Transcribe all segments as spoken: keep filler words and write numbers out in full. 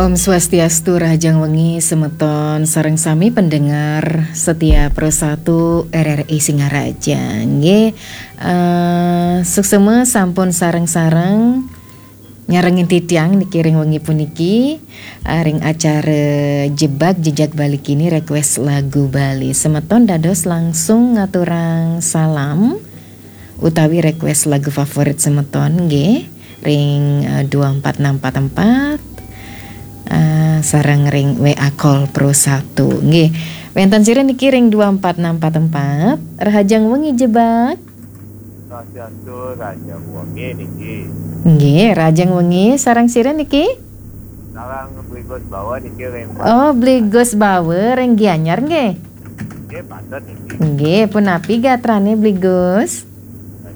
Om Swastiastu, rahajeng wengi semeton sareng sami pendengar setia Pro satu R R I Singaraja. Nggih, eh, suksema sampun sareng-sareng nyarengin titiang niki ring wengi puniki, eh, ring acara Jebak Jejak Bali Kini, request lagu Bali. Semeton dados langsung ngaturang salam utawi request lagu favorit semeton nggih ring, eh, dua empat enam empat empat, eh, sareng ring W A Call Pro satu nggih. Wenten sira niki ring dua empat enam empat empat. Rahajeng wengi Jebak. Swastiastu, rahajeng wengi niki. Nggih, rahajeng wengi, sareng sira niki? Sareng Bli Gus Bawa niki ring. Oh, Bli Gus Bawa ring Gianyar nggih. Nggih, patut niki. Nggih, punapi gatrane Bli Gus?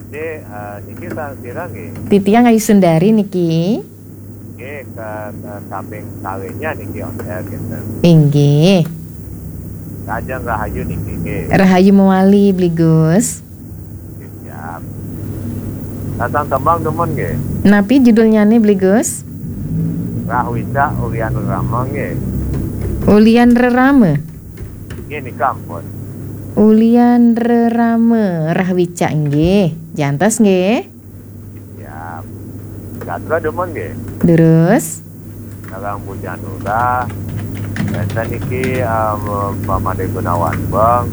Nggih, eh, niki sareng sira nggih. Titiang Ayu Sundari niki. Nggih, ke, ke kaping kalinya niki, Om, ya, gitu. Inggih. Rahajeng rahayu niki nggih. Rahayu mewali, Bli Gus. Siap. Lasang tembang demen nggih. Napi judulnyane, Bli Gus? Rahwicak Ulian Rerama nggih. Ulian Rerama? Nggih, nika ampun. Ulian Rerama, Rahwicak nggih. Jantos nggih. Siap. Gatra demen nggih. Durus. Sareng Bu Janura. Wenten niki, em, Pak Made Gunawan Beng.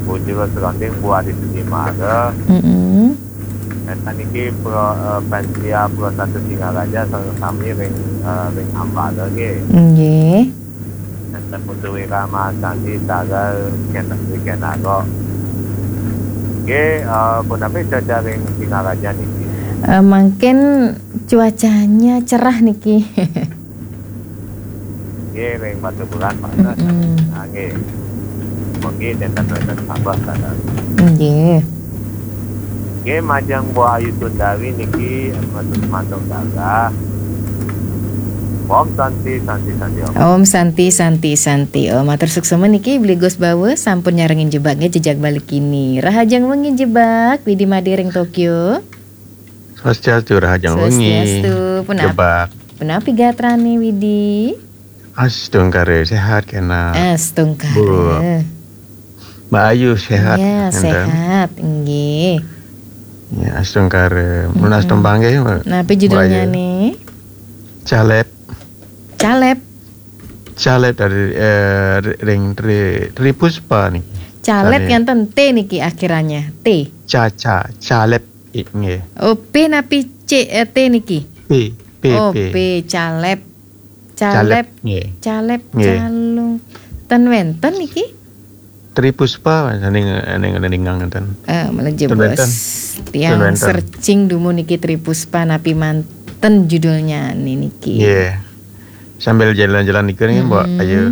Bu Jero Seronding, Bu Adi Sudimara. Mm-mm. Wenten niki Pro, eh, Pensia Pro satu Singaraja sareng sami ring, eh, ring Ambala nggih. Nggih. Wenten Putu Wira Mahasandi, Sagar, Ken, Ken Arok. Nggih, eh, punapi cuaca ring Singaraja niki? Eh, mangkin cuacanya cerah niki. Nggih, ring Batubulan, Pak. Mm-mm. Ah, nggih. Mungkin nenten wenten sabeh, Sagar. Nggih. Nggih, majeng Bu Ayu Sundari niki, eh, mantuk, mantuk gagah. Om Santi, Santi, Santi, Om. Om Santi, Santi, Santi, Om. Matur suksema niki, Bli Gus Bawa, sampun nyarengin Jebak nggih, Jejak Bali Kini. Rahajeng wengi Jebak, Widi Made ring Tokyo. Swastiastu, rahajeng wengi. Swastiastu, punap-, Jebak. Punapi gatrane Widi? Astungkara, sehat kena. Astungkara. Bu. Mbak Ayu sehat, ya, enten? Sehat, nggih. Ya, astungkara. Nunas tembang nggih, Mbak. Napi judulnya Mbak Ayu? Nih? Calep. Calep. Calep dari, eh, ring Tri, Tri Puspa niki. Calep. Tadi. Enten T niki akhirannya. T. Ca, ca, calep, i, nggih. Oh, P napi C, eh, T niki? P, P, oh, P. P, calep. Calep, calep, nggih. Calep, nggih. Calung. Ten wenten niki? Tri Puspa, ning, ning, ning ngenten. Eh, malah jebos. Ten wenten. Tiang searching dumun niki Tri Puspa napi manten judulnya niki. Nggih. Sambil jalan-jalan niku nggih, Mbok. Mm-mm. Ayo.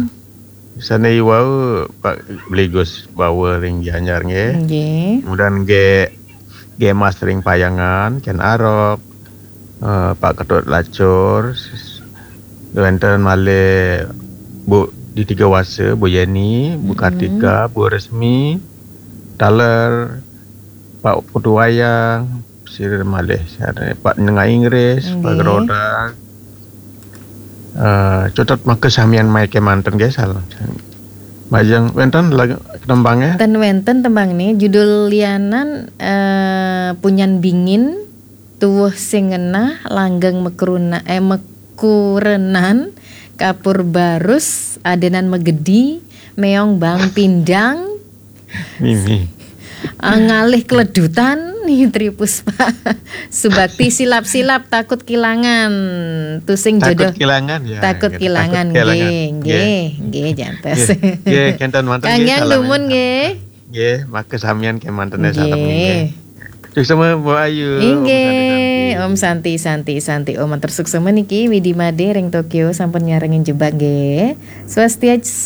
Sane wau Pak Bli Gus Bawa ring Gianyar nggih. Nggih. Kemudian nggih, nggih Mas ring Payangan, Ken Arok, eh, Pak Ketut Lacur, s-, wenten malih Bu Didi Gawasa, Bu Yeni, Bu Kartika, Bu Resmi, taler, Pak Putu Wayang, sira malih, sira Pak Nengah Inggris, Pak Gerodak. Eh, cutet maka samian mai kemanten nggih, salam. Majeng wenten lagu tembangnya? Ten wenten tembang nih, judul lianan, eh, Punyan Bingin, Tuwuh Sing Ngenah, Langgeng Mekruna-, eh, Mekurenan, Kapur Barus, Adenan Megedi, Meong Bang Pindang, Mimi. Ah, ngalih keledutan nih Tri Puspa. Subakti silap-silap takut kilangan. Tusing jodoh. Takut kilangan, ya, takut kilangan, nggih, nggih, nggih, jantos. Nggih, nggih, kenten manten, nggih, kangge lumun, nggih. Nggih, maka samian kemanten, nggih. Suksema, Bu Ayu. Inggih, Om Santi, Santi, Santi. Om, matur suksema niki, Widi Made ring Tokyo sampun nyarengin Jebak, nggih. Swastiastu.